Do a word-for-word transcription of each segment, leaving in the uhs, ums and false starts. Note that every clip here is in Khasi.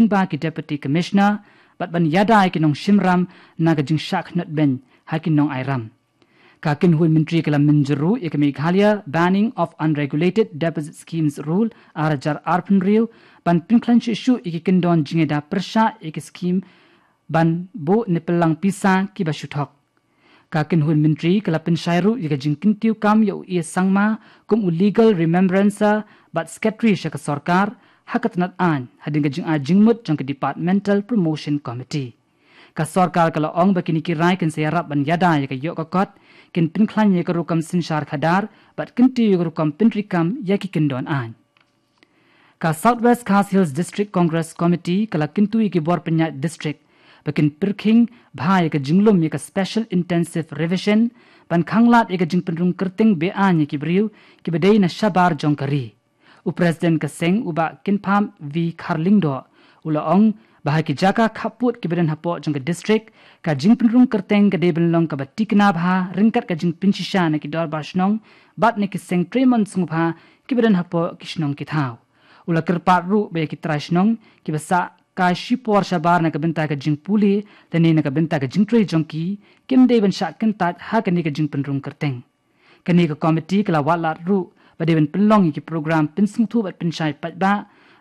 lyngba ki Deputy Commissioner bad ban ïada ïa ki nongshim ram na ka jingshah khnot beiñ ha ki nongai ram. Ka kynhun myntri ka la mynjur ruh ïa ka Meghalaya Banning of Unregulated Deposit Schemes Rule ar hajar arphew hynriew ban pynkhlaiñ shuh shuh ïa ki kyndon jingïada pyrshah ïa ki skhim ban buh ne pynlang pisa kiba shu thok. Ka kynhun myntri ka la pynshai ruh ïa ka jingkyntiew kam ïa u A Sangma kum u Legal Remembrancer bad Secretary sha ka sorkar ha ka tnat aiñ hadien ka jingai jingmut jong ka Departmental Promotion Committee. Ka sorkar ka la ong ba kine ki rai kin sa ïarap ban ïada ïa ka ïoh ka kot, kin pynkhlaiñ ïa ka rukom synshar khadar bad kyntiew ïa ka rukom pyntreikam ïa ki kyndon aiñ. Ka South West Khasi Hills District Congress Committee ka la kyntu ïa ki bor pynïaid district ba kin pyrkhing bha ïa ka jinglum ïa ka Special Intensive Revision ban khanglad ïa ka jingpynrung kyrteng beaiñ ïa ki briew kiba dei na shabar jong ka ri. U President ka seng, u Bah Kynpham V Kharlyngdoh, u la ong ba ha ki jaka khappud kiba don hapoh jong ka district, ka jingpynrung kyrteng ka dei ban long kaba tikna bha ryngkat ka jingpynshisha na ki dorbar shnong bad na ki seng trei mon sngewbha kiba don hapoh ki shnong ki thaw. U la kyrpad ruh ba ïa ki trai shnong kiba sah kai shipor shabar na ka bynta ka jingpule lane na ka bynta ka jingtrei jong ki, kim dei ban shah kyntait ha kane ka jingpynrung kyrteng. Kane ka komiti ka la wad lad ruh ba dei ban pynlong ïa ki program pynsngewthuh bad pynshai paidbah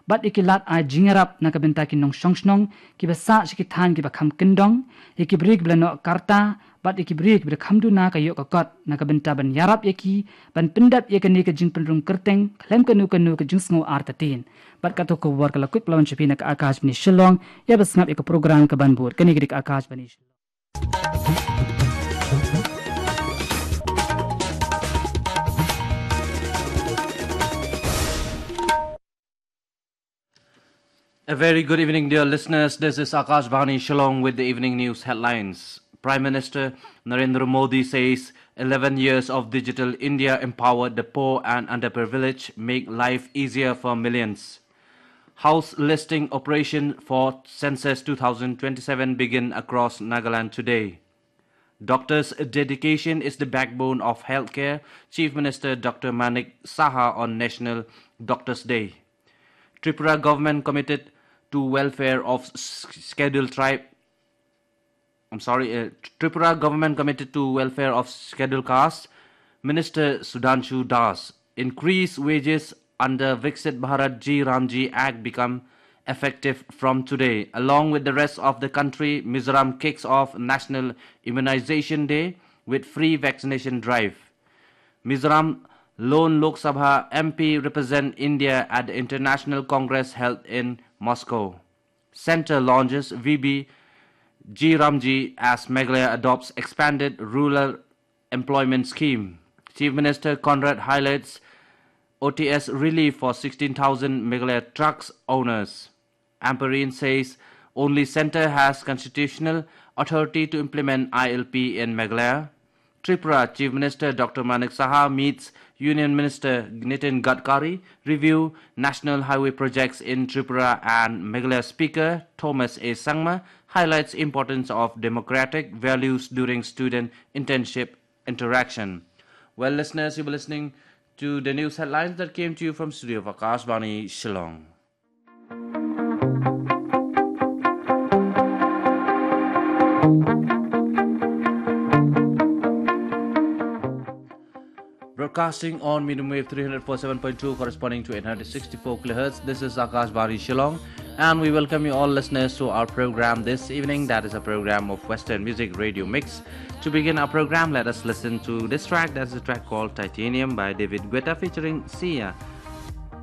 bad ïa ki lad ai jingïarap na ka bynta ki nongshong shnong kiba sah sha ki thaiñ kiba kham kyndong, ïa ki briew kiba la noh karta bad ïa ki briew kiba la kham duna ka ïoh ka kot, na ka bynta ban ïarap ïa ki ban pyndep ïa kane ka jingpynrung kyrteng khlem kano kano ka jingsngew artatien. Bad kato ka khubor ka la kut palat sha phi na ka Akashvani Shillong. Ïa ba sngap ïa ka program ka ban bud. Kane ka dei ka Akashvani Shillong. A very good evening, dear listeners. This is Akashvani Shillong with the evening news headlines. Prime Minister Narendra Modi says eleven years of Digital India empowered the poor and underprivileged, make life easier for millions. House listing operation for Census two thousand twenty-seven begin across Nagaland today. Doctors' dedication is the backbone of healthcare, Chief Minister Doctor Manik Saha on National Doctors' Day. Tripura government committed to welfare of s-, scheduled tribe. I'm sorry, uh, Tripura government committed to welfare of scheduled caste. Minister Sudhanshu Das. Increase wages under Viksit Bharat G Ramji Act become effective from today. Along with the rest of the country, Mizoram kicks off National Immunization Day with free vaccination drive. Mizoram lone Lok Sabha M P represent India at the International Congress held in Moscow. Centre launches V B G Ramji as Meghalaya adopts expanded rural employment scheme. Chief Minister Conrad highlights O T S relief for sixteen thousand Meghalaya trucks owners. Ampareen says only centre has constitutional authority to implement I L P in Meghalaya. Tripura Chief Minister Doctor Manik Saha meets Union Minister Nitin Gadkari, review national highway projects in Tripura and Meghalaya Speaker Thomas A Sangma highlights importance of democratic values during student internship interaction. Well, listeners, you were listening to the news headlines that came to you from studio of Akashvani Shillong. Broadcasting on medium wave three hundred four seven point two, corresponding to eight hundred sixty-four kilohertz. This is Akashvani Shillong, and we welcome you all listeners to our program this evening. That is a program of Western music, Radio Mix. To begin our program, let us listen to this track. That's a track called Titanium by David Guetta featuring Sia.